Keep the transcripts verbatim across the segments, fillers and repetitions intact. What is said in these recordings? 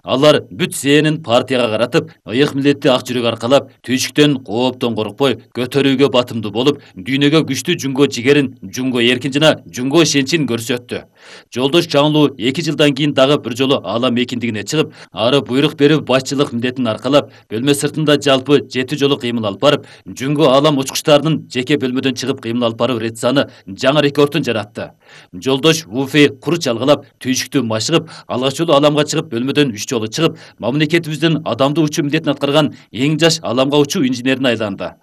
Алар бүт зээнин партияга каратып, ыйык милдетти ак жүрөк аркалап, түйшүктөн, кооптон коркпой, көтөрүүгө батымдуу болуп, дүйнөгө күчтүү жунго жигерин, жунго эркин жана жунго ишенчин көрсөттү. Жолдош Жаңылуу эки жылдан кийин дагы бир жолу аала мекиндигине чыгып, ары буйрук берип башчылык милдетин аркалап, бөлмө сыртында жалпы жети жолу кыймыл алып барып, жунго аалам учкучтарынын жеке бөлмөдөн чыгып кыймыл алып баруу рецаны жаңы рекордун жаратты. Жолдош Вуфи кур чалгалап, түйшүктү машыгып, алгач жолу ааламга чыгып, бөлмөдөн үч жолу чыгып, мамлекетибиздин адамдуу учуу милдетин аткарган эң жаш ааламга учуу инженерине айланды.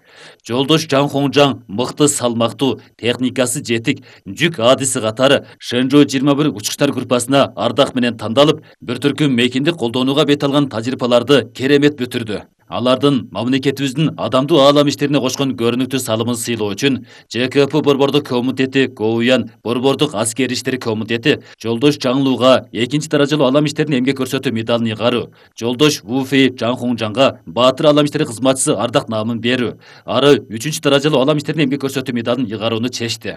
Жолдош Жан Хоңжаң мыкты, салмактуу, техникасы жетик, жүк адиси катары Шэнжоу жыйырма бир учкучтар группасына ардак менен тандалып, бир түркүм мекиндик колдонууга бет алган тажрыйбаларды керемет бүтүрдү. Алардын мамлекетибиздин адамдуу аалам иштерине кошкон көрүнүктүү салымын сыйлоо үчүн Ж К П Борбордук комитети, Гоуян Борбордук аскер иштери комитети Жолдош Жаңылууга экинчи даражалуу аалам иштерин эмгек көрсөтүү медалын ыйгаруу, Жолдош Вуфи Жан Хоңжаңга Баатыр аалам иштери кызматчысы ардак наамын берүү, ары үчүнчү даражалуу аалам иштерин эмгек көрсөтүү медалын ыйгарууну чечти.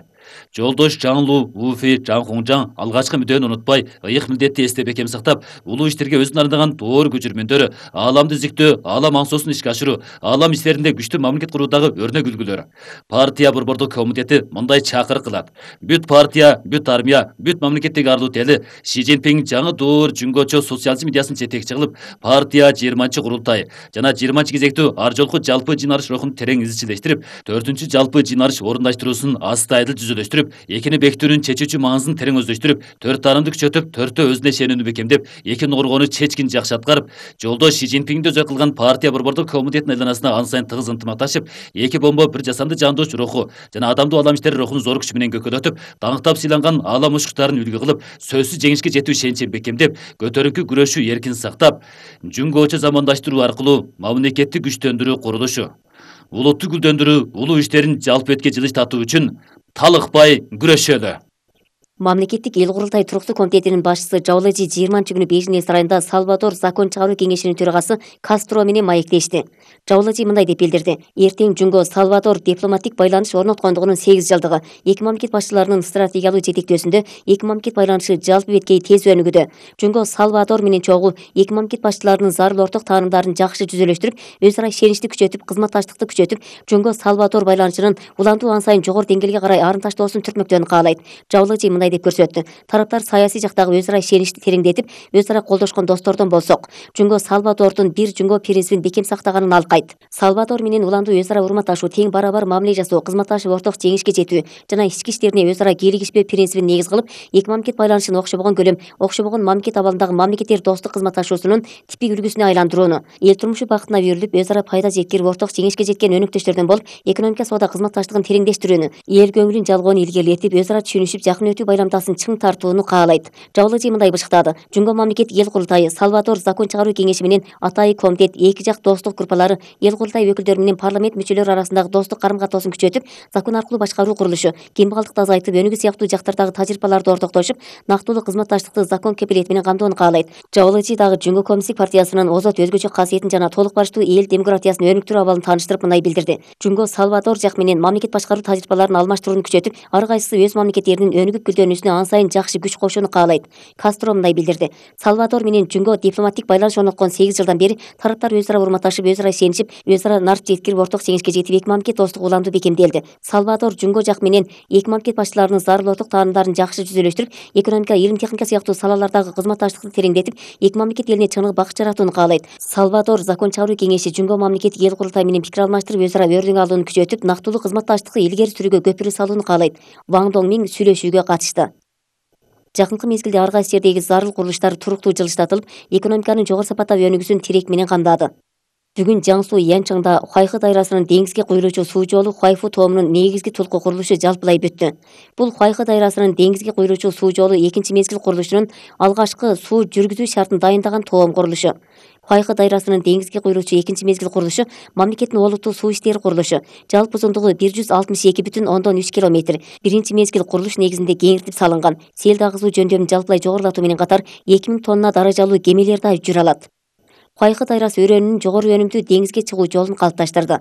Жолдош Жаңылуу, Вуфи Жан Хоңжаң алгачкы мүдөөнү унутпай, ыйык милдетти эсте бекем сактап, улуу иштерге өзүн арнаган доор күжүрмөндөрү, ааламды изиктөө, аалам аңсоосун ишке ашыруу, аалам иштеринде күчтүү мамлекет куруудагы өрнөк үлгүлөр. Партия Борбордук комитети мындай чакырык кылат: бүт партия, бүт армия, бүт мамлекеттеги арлуу тели Ши Цзиньпин жаңы доор жөнгөчө социализм идеясын жетекчи кылып, партия жыйырманчы курултай жана жыйырманчы кезектүү ар жолку жалпы жыйналыш рухун терең изчилештирип, төртүнчү жалпы жыйналыш орундаштыруусун астайдыл жүзөлөштүрүп, экини бекитүүнүн чечүүчү маңызын терең өздөштүрүп, төрт тарымды күчөтүп, төртөө өзүнө ишенүүнү бекемдеп, эки ногоргону чечкин жакшы аткарып, Жолдош Ши Цзиньпинди өзөк кылган партия Борбордук комитетинин айланасына ан сайын тыгыз ынтымакташып, эки бомбо бир жасанды жандооч руху жана адамдуу аалам иштери рухун зор күч менен көкөлөтүп, даңктап сыйланган аалам учкучтарын үлгү кылып, сөзсүз жеңишке жетүү ишеничин бекемдеп, көтөрүнкү күрөшүү эркин сактап, жөнгөчө замандаштыруу аркылуу мамлекетти күчтөндүрүү курулушу, улутту гүлдөндүрүү, улуу иштерин жалпы бетке жылыш татуу үчүн талыкпай күрөшөлү. Мамлекеттик эл курултай туруктуу комитетинин башчысы Жаулажи жыйырманчы күнү бейжиңдеги сарайында Салвадор закон чыгаруу кеңешинин төрагасы Кастро менен маектешти. Жаулажи мындай деп билдирди: эртең жунго Салвадор дипломаттык байланыш орноткондугунун сегиз жылдыгы. Эки мамлекет башчыларынын стратегиялуу жетектөөсүндө эки мамлекет байланышы жалпы беткей тез өнүгүүдө. Жунго Салвадор менен чогуу эки мамлекет башчыларынын зарыл орток таанымдарын жакшы жүзөлөштүрүп, өз ара ишеничти күчөтүп, кызматташтыкты күчөтүп, Жунго Салвадор байланышынын улантуу ан сайын жогору деңгээлге карай арымташтоосун түртмөктөрүн каалайт. Жаулажи мындай деп көрсөттү: тараптар саясий жактагы өз ара ишеничти тереңдетип, өз ара колдошкон достордон болсок, Жунго Салвадордун бир жунго принцибин бекем сактаганын алкайт. Салвадор менен улантуу өз ара урматташуу, тең барабар мамиле жасоо, кызматташып орток жеңишке жетүү жана ички иштерине өз ара кийлигишпөө принцибин негиз кылып, эки мамлекет байланышын окшобогон көлөм, окшобогон мамлекет абалындагы мамлекеттер достук кызматташуусунун типик үлгүсүнө айландырууну, эл турмушу бакытына берилип, өз ара пайда жеткирип, орток жеңишке жеткен өнөктөштөрдөн болуп, экономика соода кызматташтыгын тереңдештирүүнү, эл көңүлүн жалгоону илгерилетип, өз ара түшүнүшүп, жакын өтүү байламдасын чың тартууну каалайт. Жаулажи мындай бышыктады: жунго мамлекет эл курултайы, Салвадор закон чыгаруу кеңеши менен атайы комитет, эки жак достук группалары, эл курултай өкүлдөрү менен парламент мүчөлөрү арасындагы достук карым-катноосын күчөтүп, закон аркылуу башкаруу курулушу, кембагалдыкты азайтып, өнүгүү сыяктуу жактардагы тажрыйбаларды ортоктошуп, нактылуу кызматташтыкты закон кепилети менен камдоону каалайт. Жаулажи дагы Жунго коммунисттик партиясынын озот өзгөчө касиетин жана толук барыштуу эл демократиясын өнүктүрүү абалын тааныштырып мындай билдирди: Жунго Салвадор жак менен мамлекет башкаруу тажрыйбаларын алмаштырууну күчөтүп, ар кайсысы өз мамлекеттеринин өнүгүп гүлдөнүүсүнө ан сайын жакшы күч кошууну каалайт. Кастро мындай билдирди: Салвадор менен Жунго дипломаттык байланыш орноткон сегиз жылдан бери тараптар өз ара урматташып, өз ара ишенишип, өз ара нарт жеткирип, орток жеңишке жетип, эки мамлекет достугу улантуу бекемделди. Салвадор Жунго жак менен эки мамлекет башчыларынын зарыл орток таанымдарын жакшы жүзөлөштүрүп, экономика, илим техника сыяктуу салалардагы кызматташтыкты тереңдетип, эки мамлекет элине чыныгы бакыт жаратууну каалайт. Салвадор закон чыгаруу кеңеши Жунго мамлекеттик эл курултай менен пикир алмаштырып, өз ара өрнөк алууну күчөтүп, нактылуу кызматташтыкты илгери сүрүүгө көпүрө салууну каалайт. Ван Доңмин сүйлөшүүгө катышты. Жакынкы мезгилде ар кайсы жердеги зарыл курулуштар туруктуу жылыштатылып, экономиканын жогору сапаттагы өнүгүүсүн тирек менен камдады. Бүгүн Жаңсу Янчаңда Хуайхы дайрасынын деңизге куюлуучу суу жолу Хуайфу тоомунун негизги тулку курулушу жалпылай бүттү. Бул Хуайхы дайрасынын деңизге куюлуучу суу жолу экинчи мезгил курулушунун алгачкы суу жүргүзүү шартын дайындаган тоом курулушу. Хуайхы дайрасынын деңизге куюлуучу экинчи мезгил курулушу мамлекеттин олуттуу суу иштери курулушу. Жалпы узундугу бир жүз алтымыш эки бүтүн ондон үч километр. Биринчи мезгил курулуш негизинде кеңиртип салынган. Сел дагызуу жөндөмүн жалпылай жогорулатуу менен катар эки миң тонна даражалуу кемелер да жүрө алат. Хуайхы дайрасы өрөөнүнүн жогору өнүмдүү деңизге чыгуу жолун калыпташтырды.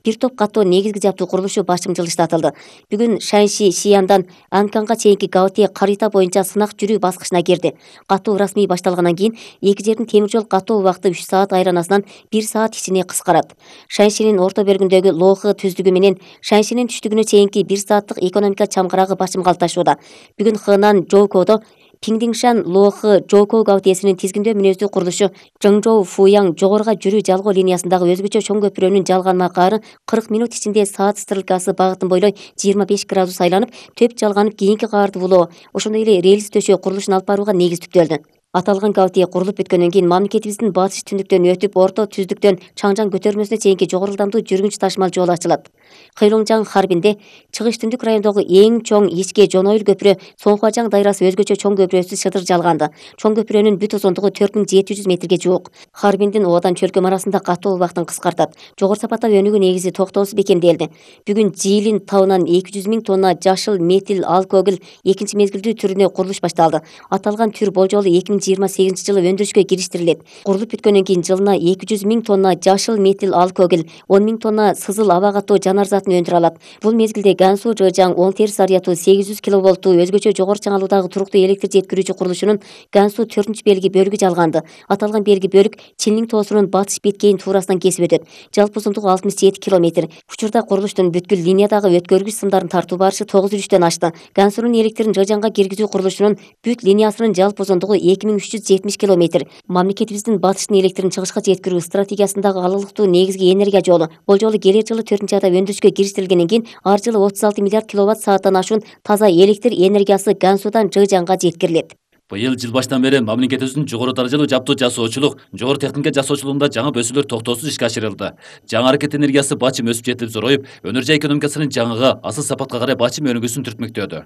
Бир топ катуу негизги жаптуу курулушу башым жылыштатылды. Бүгүн Шаньши Шияндан Анканга чейинки Гаоте карыйта боюнча сынак жүрүү баскычына кирди. Катуу расмий башталгандан кийин эки жердин темир жол катуу убакыты үч саат айланасынан бир саат ичине кыскарат. Шаньшинин орто бөлүгүндөгү Лохы түздүгү менен Шаньшинин түштүгүнө чейинки бир сааттык экономика чамгырагы башым калташууда. Бүгүн Хэнан Жоукодо Пиңдиңшан Лохы Жоуко Гаотесинин тизгиндөө мүнөздүү курулушу Жыңжоу Фуяң жогоруга жүрүү жалгоо линиясындагы өзгөчө чоң көпүрөнүн жалган макаары кырк минут ичинде саат стрелкасы багытын бойлой жыйырма беш градус айланып, төп жалганып кийинки каарды булоо, ошондой эле рельс төшөө курулушун алып барууга негиз түптөлдү. Аталган Гаоте курулуп бүткөндөн кийин мамлекетибиздин батыш түндүктөн өтүп, орто түздүктөн Чаңжаң көтөрмөсүнө чейинки жогору ылдамдуу жүргүнч ташмал жол ачылат. Хэйлоңжаң Харбинде чыгыш түндүк райондогу эң чоң ичке жонойыл көпүрө Соңхуажаң дайрасы өзгөчө чоң көпүрөсү шыдыр жалганды. Чоң көпүрөнүн бүт узундугу төрт миң жети жүз метрге жуук. Харбиндин оодан чөлкөм арасында катуу убактын кыскартат. Жогору сапаттап өнүгүү негизи токтоосуз бекемделди. Бүгүн Жиилин табынан эки жүз миң тонна жашыл метил алкогол экинчи мезгилдүү түрүнө курулуш башталды. Аталган түр болжолу эки миң жыйырма сегизинчи жылы өндүрүшкө кириштирилет. Курулуп бүткөндөн кийин жылына эки жүз миң тонна жашыл метил алкогол, он миң тонна сызыл аба катуу жанар затын өндүрө алат. Бул мезгилде Гансу Жыжаң оң терс ариятуу сегиз жүз киловолттуу өзгөчө жогору чыңалуудагы туруктуу электр жеткирүүчү курулушунун Гансу төртүнчү белги бөлүгү жалганды. Аталган белги бөлүк Чинлин тоосунун батыш беткейин туурасынан кесип өтөт. Жалпы узундугу алтымыш жети километр. Учурда курулуштун бүткүл линиядагы өткөргүч сымдарын тартуу барышы тогуз жүрүштөн ашты. Гансунун электрин Жыжаңга киргизүү курулушунун бүт линиясынын жалпы узундугу эки миң үч жүз жетимиш километр. Мамлекетибиздин батыштын электрин чыгышка жеткирүү стратегиясындагы алалыктуу негизги энергия жолу. Болжолу келер жылы төртүнчү айда өндүрүшкө кириштирилгенден кийин ар жылы отуз алты миллиард киловатт сааттан ашуун таза электр энергиясы Гансудан Жыжаңга жеткирилет. Быйыл жыл баштан бери мамлекетибиздин жогору даражалуу жаптуу жасоочулук, жогору техника жасоочулугунда жаңы бөсүүлөр токтоосуз ишке ашырылды. Жаңы аракет энергиясы бачым өсүп жетип зороюп, өнөр жай экономикасынын жаңыга, асыл сапатка карай бачым өнүгүүсүн түртмөктөдү.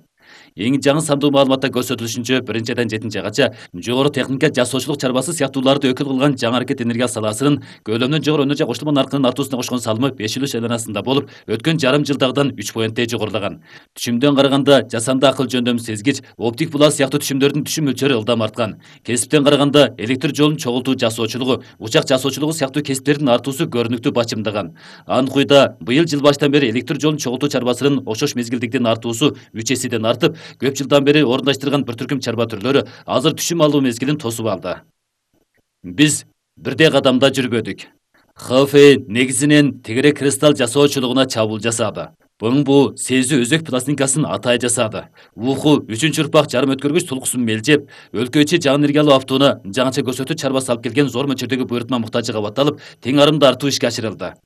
Эң жаңы сандуу маалыматта көрсөтүлүшүнчө биринчи айдан жетинчи айгача жогору техника жасоочулук чарбасы сыяктууларды өкүл кылган жаңы аракет энергия саласынын көлөмдөн жогору өнөр жай кошулма наркынын артуусуна кошкон салымы беш үлүш айланасында болуп, өткөн жарым жылдагыдан үч поинттей жогорулаган. Түшүмдөн караганда жасанды акыл жөндөм сезгич, оптик булат сыяктуу түшүмдөрдүн түшүм мөлчөрү ылдам арткан. Кесиптен караганда электр жолун чогултуу жасоочулугу, учак жасоочулугу сыяктуу кесиптердин артуусу көрүнүктүү бачымдаган. Аныкуйда быйыл жыл баштан бери электр жолун чогултуу чарбасынын окшош мезгилдиктин артуусу үч эседен артып, көп жылдан бери орундаштырган бир түркүм чарба түрлөрү азыр түшүм алуу мезгилин тосуп алды. Биз бирдей кадамда жүрбөдүк. Хэфэй негизинен тегерек кристалл жасоочулугуна чабуул жасады. Быңбу сезүү өзөк пластинкасын атай жасады. Уху үчүнчү урпак жарым өткөргүч тулкусун мелжеп, өлкө ичи жаңы энергиялуу автууна жаңыча көрсөтүү чарбасы алып келген зор мөлчөрдөгү буйрутма муктажы кабатталып, тең арымды артуу ишке ашырылды.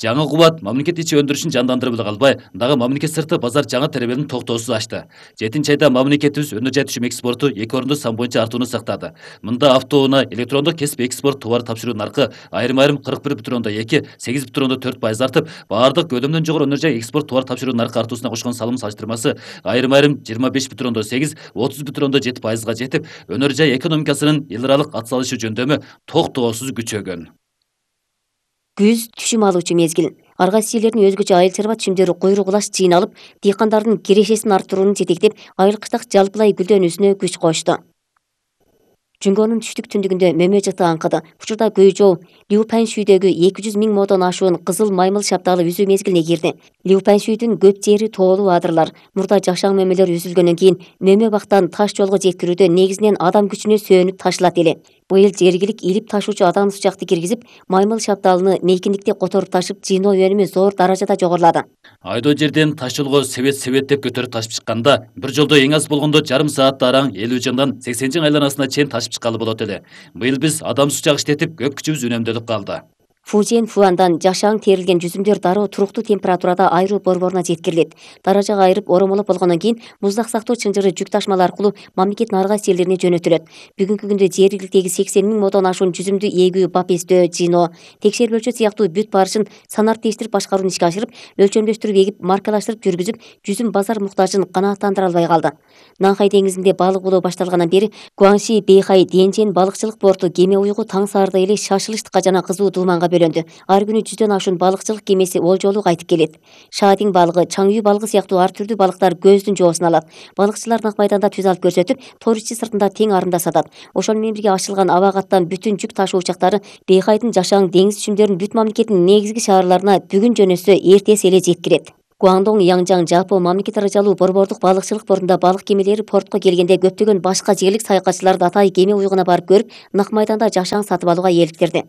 Жаңы кубат мамлекет ичи өндүрүшүн жандандырып эле калбай, дагы мамлекет сырты базар жаңы теребелин токтоосуз ачты. жетинчи айда мамлекетибиз өнөр жай түшүм экспорту эки орунду сан боюнча артууну сактады. Мында автоунаа электрондук кесип экспорт товар тапшыруу наркы айрым-айрым кырк бир бүтүн ондон эки, сегиз бүтүн ондон төрт пайыз артып, баардык көлөмдөн жогору өнөр жай экспорт товар тапшыруу наркы артуусуна кошкон салым салыштырмасы айрым-айрым жыйырма беш бүтүн ондон сегиз, отуз бүтүн ондон жети пайызга жетип, өнөр жай экономикасынын эл аралык атсалышы жөндөмү токтоосуз күчөгөн. Күз түшүм алуучу мезгил. Ар кайсы жерлердин өзгөчө айыл чарба түшүмдөрү куйрук улаш жыйналып, дыйкандардын кирешесин арттырууну жетектеп, айыл кыштак жалпылай гүлдөнүүсүнө күч кошту. Жүнгөнүн түштүк түндүгүндө мөмө жыты аңкыды. Учурда Гөйжоу Лиупаншүйдөгү эки жүз миң модон ашуун кызыл маймыл шапталы үзүү мезгилине кирди. Лиупаншүйдүн көп жери тоолуу адырлар. Мурда жашаң мөмөлөр үзүлгөндөн кийин мөмө бактан таш жолго жеткирүүдө негизинен адам күчүнө сүйөнүп ташылат эле. Быйыл жергилик илип ташуучу адам сучакты киргизип, маймыл шапталыны мейкиндикте которуп ташып, жыйноо өнүмү зор даражада жогорулады. Айдоо жерден таш жолго себет-себет деп көтөрүп ташып чыкканда, бир жолдо эң аз болгондо жарым саатта араң элүү жыңдан сексен жың айланасына чейин ташып чыккалы болот эле. Быйыл биз адам сучак иштетип, көп күчүбүз үнөмдөлүп калды. Фужен Фуандан жашаң терилген жүзүмдөр дароо туруктуу температурада айруу борборуна жеткирилет. Даражага айырып оромолоп болгондон кийин муздак сактоо чынжыры жүк ташмалар аркылуу мамлекеттин ар кайсы жерлерине жөнөтүлөт. Бүгүнкү күндө жергиликтеги сексен миң модон ашуун жүзүмдү эгүү, бапестөө, жыйноо, текшерип өлчөт сыяктуу бүт барышын санартештирип башкарууну ишке ашырып, өлчөмдөштүрүп эгип, маркалаштырып жүргүзүп, жүзүм базар муктажын канааттандыра албай калды. Нанхай деңизинде балык булоо башталгандан бери Гуанши Бэйхай Денжен балыкчылык порту кеме уюгу таң саарда эле шашылыштыкка жана кызуу дууманга бөлөндү. Ар күнү жүздөн ашуун балыкчылык кемеси ол жолу кайтып келет. Шаадин балыгы, чаңүй балыгы сыяктуу ар түрдүү балыктар көздүн жоосун алат. Балыкчылар нак майданда түз алып көрсөтүп, тор ичи сыртында тең арында сатат. Ошол менен бирге ачылган аба каттан бүтүн жүк ташуу учактары Бейкайдын жашаң деңиз чүмдөрүн бүт мамлекеттин негизги шаарларына бүгүн жөнөсө эртеси эле жеткирет. Гуандong, Янжаң, Жапо мамлекет аралуу борбордук балыкчылык портунда балык кемелери портко келгенде көптөгөн башка жерлик саякатчыларды атай кеме уюгуна барып көрүп, нак майданда жашаң сатып алууга eeliktirди.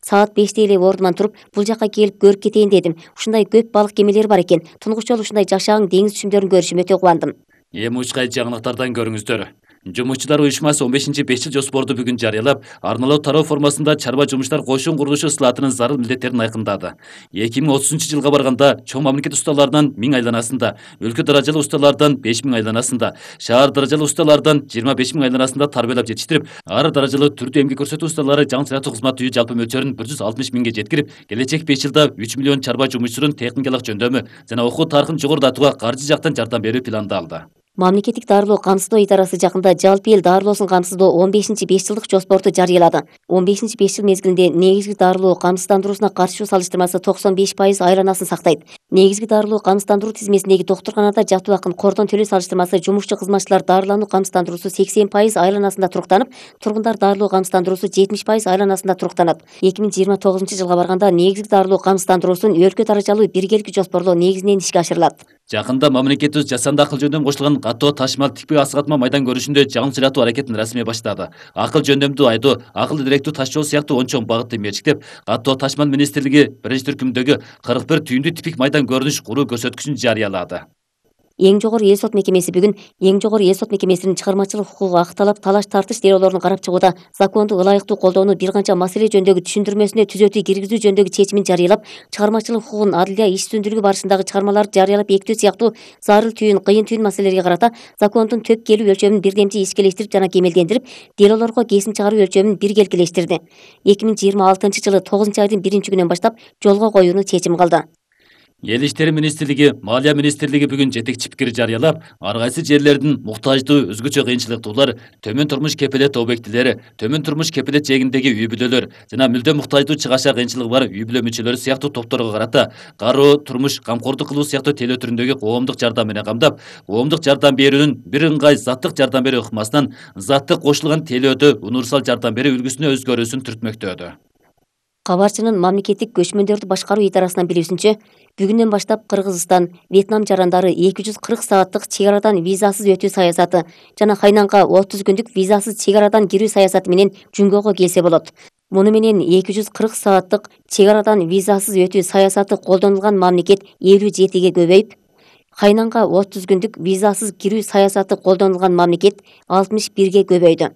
Саат беште эле ордуман туруп, бул жака келип көрүп кетейин дедим. Ушундай көп балык кемелери бар экен. Тунгуч жолу ушундай жашаң деңиз чүмдөрүн көрүшүм өтө кубандым. Эми учкай жаңылыктардан көрүңүздөр. Жумушчулар уюшмасы он бешинчи беш жыл жоспорду бүгүн жарыялап, арналуу тароо формасында чарба жумуштар кошун курулушу ысылатынын зарыл милдеттерин айкындады. эки миң отузунчу жылга барганда чоң мамлекет усталарынан миң айланасында, өлкө даражалуу усталардан беш миң айланасында, шаар даражалуу усталардан жыйырма беш миң айланасында тарбиялап жетиштирип, ар даражалуу түрдүү эмгек көрсөтүү усталары жаңы сыяктуу кызмат үйү жалпы мөлчөрүн бир жүз алтымыш миңге жеткирип, келечек беш жылда үч миллион чарба жумушчунун техникалык жөндөмү жана окуу тарыхын жогорулатууга каржы жактан жардам берүү пландалды. Мамлекеттик дарылоо камсыздоо идарасы жакында жалпы эл дарылоосун камсыздоо он бешинчи беш жылдык жоспорту жарыялады. он бешинчи беш жыл мезгилинде негизги дарылоо камсыздандыруусуна катышуу салыштырмасы токсон беш пайыз айланасын сактайт. Негизги дарылоо камсыздандыруу тизмесиндеги доктурканада жатуу акын кордон төлөө салыштырмасы жумушчу кызматчылар дарылануу камсыздандыруусу сексен пайыз айланасында туруктанып, тургундар дарылоо камсыздандыруусу жетимиш пайыз айланасында туруктанат. эки миң жыйырма тогузунчу жылга барганда негизги дарылоо камсыздандыруусун өлкө даражалуу биргеликти жоспорлоо негизинен ишке ашырылат. Жакында мамлекетибиз жасанды акыл жөндөмү кошулган каттоо ташмал тикпей асыгатма майдан көрүшүндө жаңы сыйлатуу аракетин расмий баштады. Акыл жөндөмдүү айдоо, акыл илеректүү таш жол сыяктуу он чоң багытты мерчиктеп, каттоо ташмал министрлиги биринчи түркүмдөгү кырк бир түйүндүү типик майдан көрүнүш куруу көрсөткүчүн жарыялады. Эң жогору эл сот мекемеси бүгүн эң жогору эл сот мекемесинин чыгармачылык укугу акталап талаш тартыш делоолорун карап чыгууда законду ылайыктуу колдоону бир канча маселе жөнүндөгү түшүндүрмөсүнө түзөтүү киргизүү жөнүндөгү чечимин жарыялап, чыгармачылык укугун адилия иш үстүндүлүгү барышындагы чыгармаларды жарыялап бекитүү сыяктуу зарыл түйүн, кыйын түйүн маселелерге карата закондун төп келүү өлчөмүн бирдемчи ишкелештирип жана кемелдендирип, делоолорго кесим чыгаруу өлчөмүн биргелкилештирди. эки миң жыйырма алтынчы жылы тогузунчу айдын биринчи күнүнөн баштап жолго коюуну чечим кылды. Эл иштери министрлиги, Малия министрлиги бүгүн жетекчи пикир жарыялап, ар кайсы жерлердин муктаждуу, өзгөчө кыйынчылыктуулар, төмөн турмуш кепилет объектилери, төмөн турмуш кепилет жээгиндеги үй бүлөлөр жана мүлдө муктаждуу чыгаша кыйынчылыгы бар үй бүлө мүчөлөрү сыяктуу топторго карата кароо, турмуш, камкордук кылуу сыяктуу телөө түрүндөгү коомдук жардам менен камдап, коомдук жардам берүүнүн бир ыңгай заттык жардам берүү ыкмасынан заттык кошулган телөөдө универсал жардам берүү үлгүсүнө өзгөрүүсүн түртмөктөдү. Кабарчынын мамлекеттик көчмөндөрдү башкаруу идарасынан билүүсүнчө, бүгүндөн баштап Кыргызстан, Вьетнам жарандары эки жүз кырк сааттык чек арадан визасыз өтүү саясаты жана Хайнанга отуз күндүк визасыз чек арадан кирүү саясаты менен Жүнгөгө келсе болот. Муну менен эки жүз кырк сааттык чек арадан визасыз өтүү саясаты колдонулган мамлекет элүү жетиге көбөйүп, Хайнанга отуз күндүк визасыз кирүү саясаты колдонулган мамлекет алтымыш бирге көбөйдү.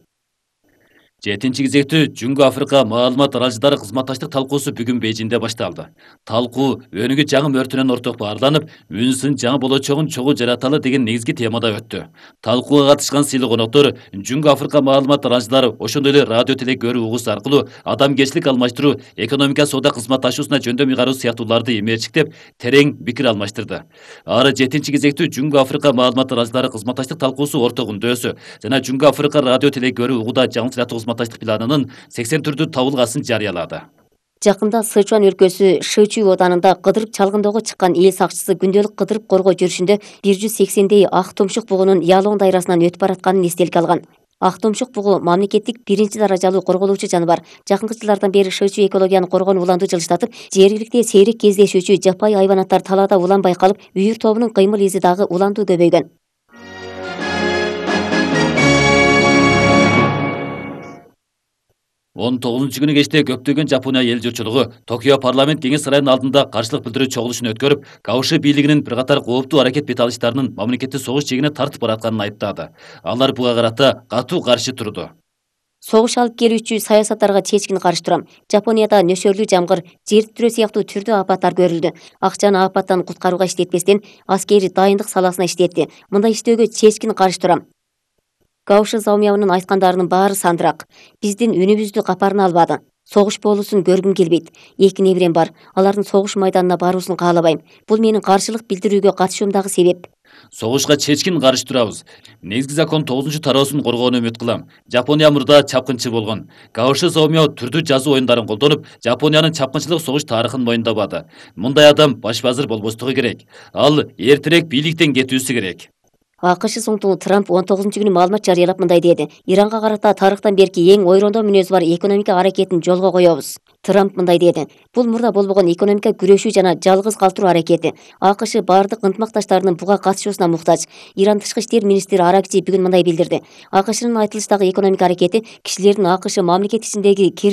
жетинчи кезектүү Жүнгө Африка маалымат аралжылары кызматташтык талкуусу бүгүн Бейжиңде башталды. Талкуу өнүгүү жаңы мөртүнөн орток баарланып, үнсүн жаңы болочогун чогуу жараталы деген негизги темада өттү. Талкууга катышкан сыйлуу коноктор Жүнгө Африка маалымат аралжылары ошондой эле радио теле көрүү угуусу аркылуу адамгерчилик алмаштыруу, экономика соода кызматташуусуна жөндөм ыйгаруу сыяктууларды эмерчиктеп, терең пикир алмаштырды. Ары жетинчи кезектүү Жүнгө Африка маалымат аралжылары кызматташтык талкуусу орток үндөсү жана Жүнгө Африка радио теле көрүү угууда жаңы сыяктуу кызматташтык планынын сексен түрдүү табылгасын жарыялады. Жакында Сычуан өлкөсү Шычуй оданында кыдырып чалгындоого чыккан эл сакчысы күндөлүк кыдырып коргоо жүрүшүндө бир жүз сексендей ак тумшук бугунун Ялоң дайрасынан өтүп баратканын эстеликке алган. Ак тумшук бугу мамлекеттик биринчи даражалуу корголуучу жаныбар. Жакынкы жылдардан бери Шычуй экологияны коргонуу уланды жылыштатып, жергиликте сейрек кездешүүчү жапайы хайванаттар талаада улан байкалып, үйүр тобунун кыймыл изи дагы уландуу көбөйгөн. он тогузунчу күнү кечте көптөгөн Жапония эл журтчулугу Токио парламент кеңеш сарайынын алдында каршылык билдирүү чогулушун өткөрүп, Кауши бийлигинин бир катар кооптуу аракет бет алыштарынын мамлекетти согуш чегине тартып баратканын айыптады. Алар буга карата катуу каршы турду. Согуш алып келүүчү саясаттарга чечкин каршы турам. Жапонияда нөшөрлүү жамгыр, жер титирөө сыяктуу түрдүү апаттар көрүлдү. Акчаны апаттан куткарууга иштетпестен, аскери дайындык саласына иштетти. Мындай иштөөгө чечкин каршы турам. Кауши Заумиянын айткандарынын баары сандырак. Биздин үнүбүздү капарына албады. Согуш болуусун көргүм келбейт. Эки неберем бар. Алардын согуш майданына баруусун каалабайм. Бул менин каршылык билдирүүгө катышуумдагы себеп. Согушка чечкин каршы турабыз. Негизги закон тогузунчу тароосун коргоону үмүт кылам. Жапония мурда чапкынчы болгон. Каоши Сомио түрдүү жазуу оюндарын колдонуп, Жапониянын чапкынчылык согуш тарыхын моюндабады. Мындай адам баш вазир болбостугу керек. Ал эртерээк бийликтен кетүүсү керек. АКШ соңтугу Трамп он тогузунчу күнү маалымат жарыялап мындай деди. Иранга карата тарыхтан берки эң ойрондоо мүнөзү бар экономика аракетин жолго коебуз. Трамп мындай деди. Бул мурда болбогон экономика күрөшүү жана жалгыз калтыруу аракети. АКШ бардык ынтымакташтарынын буга катышуусуна муктаж. Иран тышкы иштер министри Аракчи бүгүн мындай билдирди. АКШнын айтылыштагы экономика аракети кишилердин АКШ мамлекети ичиндеги кир